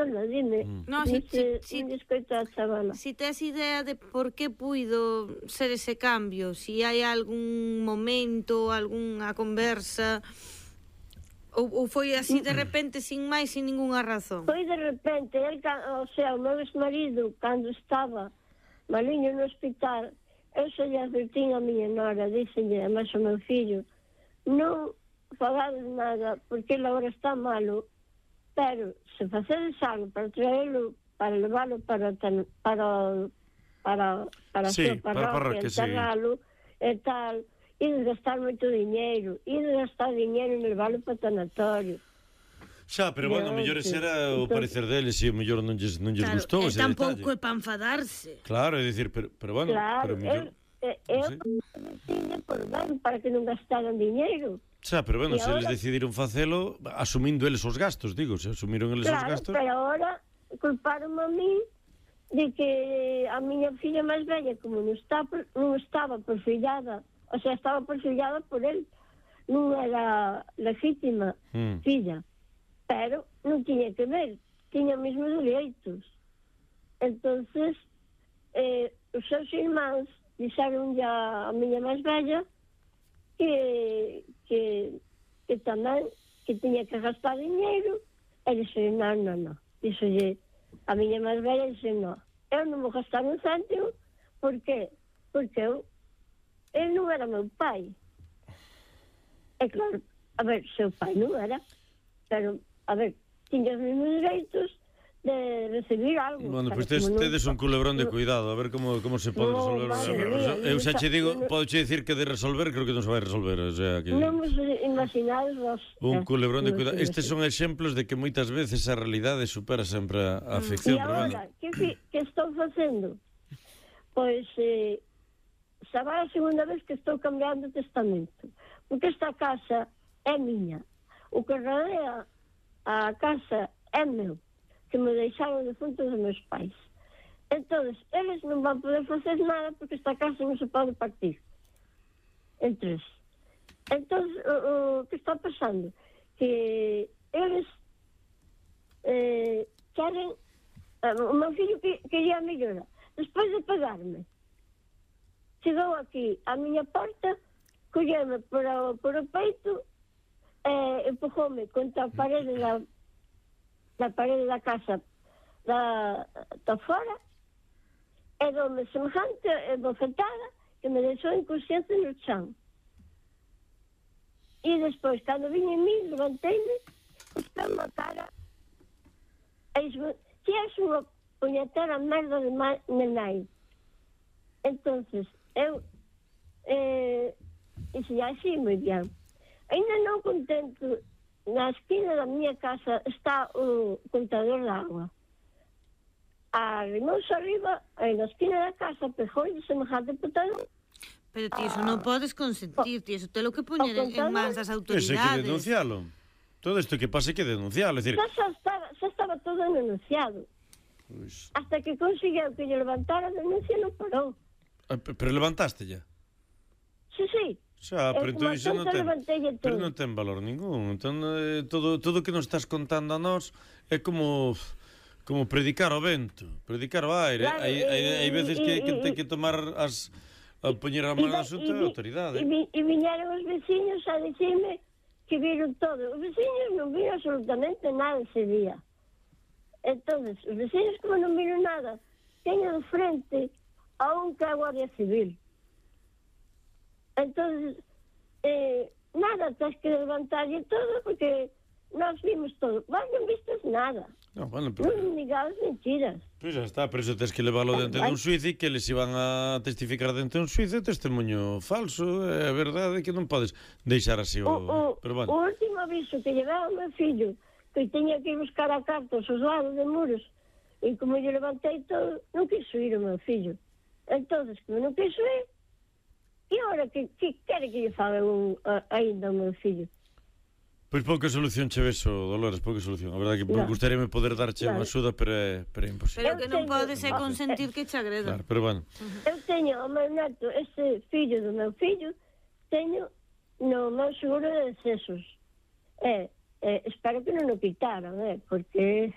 perdona, dime. No, Non escoito a chavala. Si tes idea de por que puido ser ese cambio, si hai algún momento, algunha conversa, ou foi así de repente, sin máis, sin ningunha razón? Foi de repente, o meu ex-marido, cando estaba maliño no hospital, eu se lle advertín a miña nora, díxenlle, además o meu fillo, non fagades nada, porque ele agora está malo, pero se facedes algo para traelo, para leválo para a súa parroquia, enterralo e tal, e desgastar moito diñeiro, e desgastar diñeiro e leválo para o tanatorio. Xa, pero bueno, mellor ese era o parecer deles e o mellor non lles gustou ese detalle. Tampouco é para enfadarse. Claro, é dicir, pero bueno, claro, pero mellor... para que non gastaran diñeiro. Xa, pero bueno, se eles decidiron facelo asumindo eles os gastos, digo, se asumiron eles os gastos. Claro, pero agora culparon a mí de que a miña filla máis bella, como non estaba perfillada, o sea, estaba perfillada por él, non era legítima filla, pero non tiña que ver, tiña mesmo dereitos. Entonces os seus irmáns dixeron a miña máis bella que tamén que tiña que gastar diñeiro, e dixo, non. Dixolle a miña máis bella, dixo, non, eu non vou gastar un céntimo, porque ele non era meu pai. E claro, a ver, seu pai non era, pero, a ver, tiña os mesmos dereitos de recibir algo. Bueno, pois tedes un culebrón de cuidado, a ver como se pode resolver. Eu xa che digo, podo che dicir que de resolver, creo que non se vai resolver, o sea, que non vos imaginades un culebrón de cuidado. Estes son exemplos de que moitas veces a realidade supera sempre a ficción. E agora, que estou facendo? Pois xa vai a segunda vez que estou cambiando o testamento, porque esta casa é miña, o que rodea a casa é meu, que me deixaron de fundos dos meus pais. Entón, eles non van poder facer nada porque esta casa non se pode partir en tres. Entón, o que está pasando? Que eles queren... o meu fillo quería a mellora. Despois de pagarme, chegou aquí a miña porta, colleme por o peito e empujoume contra a parede da casa da fora, e dome semejante bofetada que me deixou inconsciente no chan. E despois, cando vim en mí, levanteime, está na cara, e dixo, que és unha puñetera merda de nai. Entonces, eu dixo, así, moi ben. Ainda non contento, na esquina da miña casa está o contador de agua. Arrimou-se arriba, e na esquina da casa pegou de semejante potador. Pero ti iso non podes consentir, ti iso telo que poñer en mans das autoridades. Ese hai que denuncialo. Todo isto que pase hai que denuncialo. Xa estaba todo denunciado. Pues... hasta que conseguiu que lle levantara a denuncia, non parou. Pero levantaste ya? Sí. Xa, pero entón iso non ten valor ningún. Entón, todo que nos estás contando a nós é como predicar ao vento, predicar ao aire. Hai veces que ten que tomar a poñer a mão na asunto a autoridade. E viñeron os veciños a dicirme que viron todo. Os veciños non viron absolutamente nada ese día. Entón, os veciños, como non viron nada, teñen de frente a un que é a Guardia Civil. Entón, nada, tens que levantarlle todo, porque nós vimos todo. Vos non vistes nada. No, bueno, pero... non digades mentiras. Pois xa está, pero iso tens que leválo dentro dun xuizo e que eles iban a testificar dentro dun xuizo, testemunho falso, é verdade que non podes deixar así pero bueno. O último aviso que llevaba o meu fillo, que teña que ir buscar a carta aos lados de muros, e como yo levantei todo, non quiso ir o meu fillo. Entonces, como non quiso ir, e agora que quere que lle faga ainda o meu fillo? Pois pouca solución che ves, Dolores, pouca solución. A verdade que gustaríame poder darche unha axuda, pero é imposible. Pero que non podes consentir que che agreda. Claro, pero bueno. Eu teño o meu neto, este fillo do meu fillo, teño no meu seguro de decesos. Espero que non o quitaran, porque